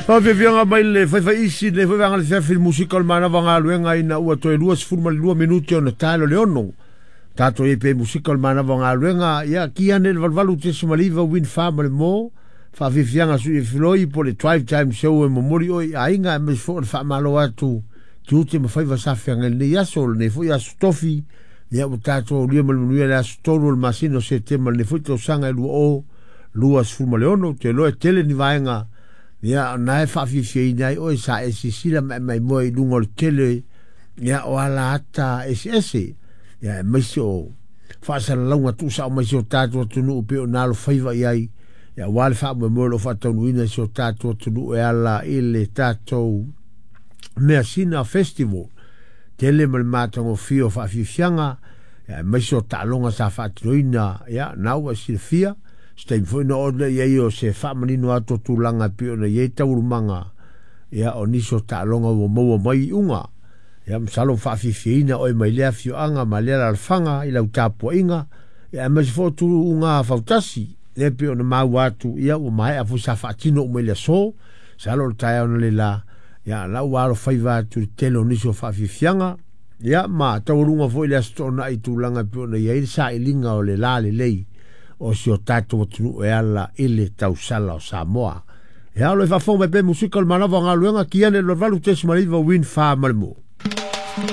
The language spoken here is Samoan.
Faafiafiaga mai le faifaiisi lenei foi vaega o le afiafi i le musika o le manava o galuega ina ua toe 22 minute ona tae le 6. Tatou i ai pea i musika o le manava o galuega, ia ki ane le 88.9 Win 4 ma le mo. Faafiafiaga sui e filoi po le drive time show e momoli oe i aiga aemaise foi o le faamalo atu tiute ma faiva sa feagai lenei aso, lenei foi aso tofi. Ia ua tatou aulia ma le manuia le aso 3 o le masina o Setema lenei foi tausaga e 2026. Ou te iloa e tele ni vaega ia na e faafiafiaina ai oe sa e sisila ma e maimoa i luga o le tele ia o ala ata eseese ia aemaise o faasalalauga tuusao mai si o tatou atunuu pei ona alofaiva i ai ia aua le faamoemoe o lo o faataunuuina i si o tatou atunuu e ala i le tatou Measina Festival. Tele ma le matagofie o faafiafiaga ia aemaise o taaloga sa faatinoina ia na ua e silafia. Se taimi foi ona oo lea i ai o se faamanino atu o tulaga e pei ona i ai taualumaga ia o nisi o taaloga ua maua mai iuga. Ia masalo ua faafiafiaina oe mai lea afioaga ma lea alaalafaga i lau tapuaiga ia aemaise foi o tuuga fautasi lea pei ona maua atu ia ua maea foi sa faatino uma i le aso. Masalo o le taeao analeila ia la ua alofaiva atu i le tele o nisi o faafiafiaga ia ma taualuga foi le Aso Toonai i tulaga e pei ona i ai le sailiga o le lalelei o si o tatou atunuu e ala i le tausala o Samoa. Ia, o lo o faafofoga mai pea musika o le manava o galuega, ki ane le 88.9 Win 4 ma le mo.